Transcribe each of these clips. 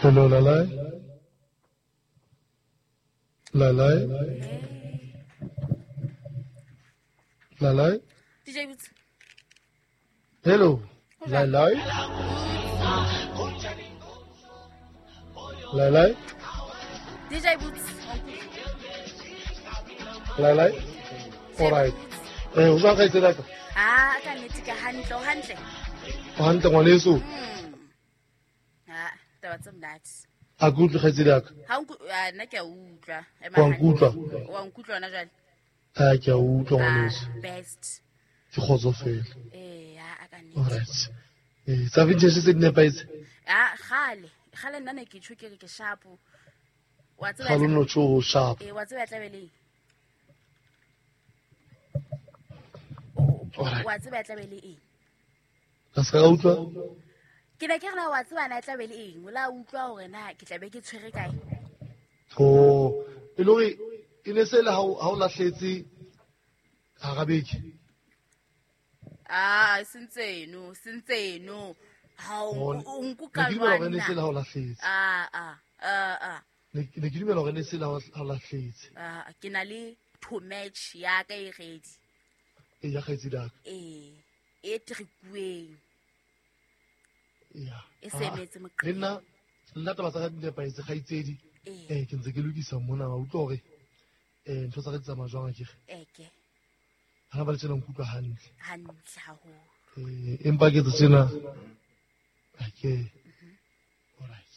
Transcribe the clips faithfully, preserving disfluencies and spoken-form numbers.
Hello, Lalai. Lalai. Lalai. D J Boots. Hello. Lalai. Lalai. D J Boots. Lalai. All right. Eh, o jwang kgaitsedi ya ka? Ah, ka nnete ke hantle, o hantle. O hantle ngwaneso. Ah, taba tse monate. A ke utlwe kgaitsedi ya ka? Ha o nna ke a utlwa. Wa nkutlwa? Wa nkutlwa hona jwale? Ah, ke a utlwa ngwaneso. Best. Ke kgotsofele. Eh, ha ka nnete. All right. Eh, tsa vintage tse di nepahetse? Ah, kgale. Kgale nna ne ke tjho ke re ke sharp. Wa tseba. Kgale no tjho sharp. Eh, wa tseba tla be le. Wa tseba tla be le eng? Ka se ka utlwa? Ke ne ke re na wa tseba na tla be le eng? O la utlwa hore na ke tla be ke tshwere kae? Oh, e le hore e ne se le ha o lahletse hara beke. Ah, sentseno, sentseno. Ha o nkuka jwang? Ne ke se le ha o lahletse. Ah, ah, ah, ah. Ne ke dumela hore ne se le ha o lahletse. Ah, ke na le to match ya ka e ready. E ya kgaitsedi ya ka. Eh, e trikueng. Ya. E sebetse moqe. Le nna nna taba tsa ka di nepahetse kgaitsedi. Eh, ke ntse ke lokisa mona wa utlwa hore eh ntho tsa ka di tsamaya jwang akere? Eke. Ha ba le tsena nkutlwa hantle. Hantle haholo. Eh, empa ke tse tsena. Ake. All right.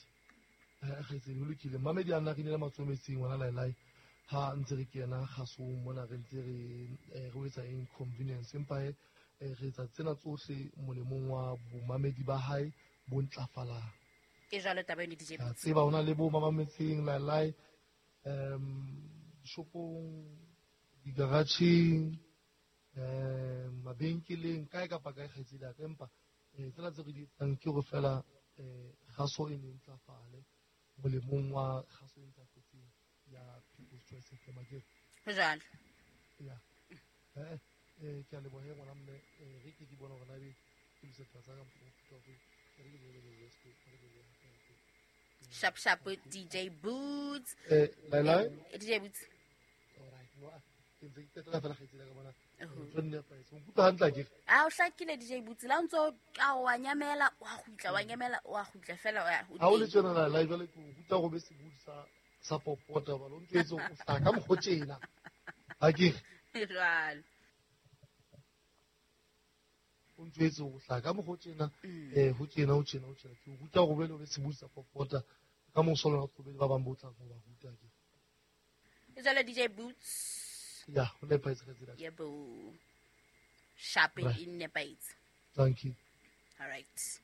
Eh, kgaitsedi ho lokile. Mamedi a nna re nela matsometseng ngwana Lailai. Ha ntse re kena kgasong mona re ntse re re etsa inconvenience empa re etsa tsena tsohle molemong wa bomamedi ba hae bo ntlafalang. Ke jwalo taba eno D J. Tseba hona le bo mamametseng Lailai um shopong, digaratjheng, um mabenkeleng kae kapa kae kgaitsedi ya ka, empa tsena tse re di etsang ke hore fela kgaso e ne ntlafale molemong wa kgaso e ntlafetseng ya People's Choice F M akere. Ho jwalo. Ya. Eh, eh ke a leboha he ngwana mme, re ke ke bona hore na ebe ke lokisa taba tsa ka mokgwa o hore re ke le le le Sharp sharp D J Boots. Eh, Lailai? D J Boots. All right. No, ke ntse ke qetela fela kgaitsedi ya ka bona. Ntho nne nepahetse. O nkutlwa hantle akere? Ah, o hlakile D J Boots. La o ntso ka wa nyamela, wa kgutla, wa nyamela, wa kgutla fela wa. Ha o le tjena Lailai jwale ke o ruta go be sebudi sa sa popota ba lo ntse o hlaka mokgo tjena. Akere? Jwalo. O ntse o hlaka mokgo tjena, eh ho tjena ho tjena ho tjena. Ke o ruta go be le sebudi sa popota ka mo solo go be ba bang bo tla go ba ruta ke. Jwale D J Boots. Ya, ho nepahetse kgaitsedi. Yebo. Sharp in nepahetse. Thank you. All right.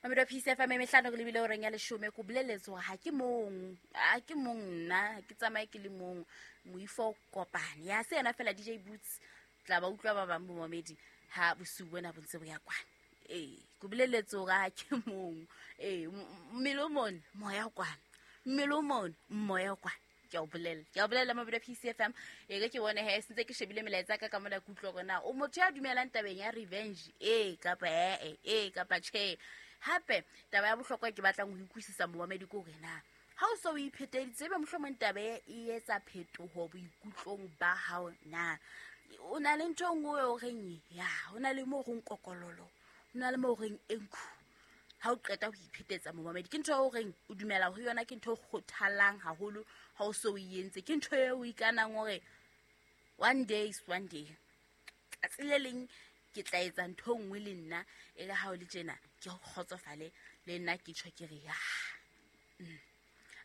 Mamedi wa P C F M mehlano re lebile horeng ya leshome ko boleletse hore ha ke mong, ha ke mong nna, ke tsamaye ke le mong, moifo kopane. Ya se yena fela D J Boots tla ba utlwa ba bang bo mamedi ha bosiu bona bo ntse bo ya kwana. Eh, ko boleletse hore ha ke mong. Eh, mmele o mona, moya o kwana. Mmele o mona, moya o kwana. Ke a o bolella, ke a o bolella mamedi wa P C F M. E re ke bone he sentse ke shebile melaetsa ka ka mona ke utlwa hore na o motho ya dumelang tabeng ya revenge eh kapa eh eh kapa tjhe. Hape taba ya bohlokwa ke batlang ho utlwisisa momamedi ke hore na ha o so o ipheteditse ebe mohlomong taba e etsa phetoho boikutlong ba hao na o na le ntho e nngwe o reng ya o na le mo reng kokololo, o na le mo reng enkhu ha o qeta ho iphetetsa momamedi ke ntho e o reng o dumela ho yona, ke ntho e kgothalang haholo ha o so o entse, ke ntho e o ikanang hore one day is one day tsatsi le leng ke tla etsa ntho e nngwe le nna e le ha o le tjena ke kgotsofale le nna ke tjho ke re ya.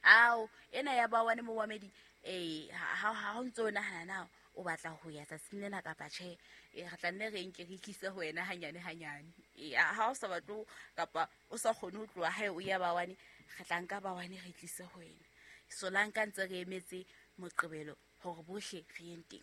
Ao ena ya ba wane momamedi eh ha ha o ntso nahana na o batla ho ya tsatsing lena kapa tjhe, e re tla nne re nke re tlise ho wena hanyane hanyane. E ha o sa batle kapa o sa kgone ho tloha hae o ya ba wane, re tla nka ba wane re tlise ho wena. So la nka ntse re emetse Moqebelo hore bohle re yeng teng.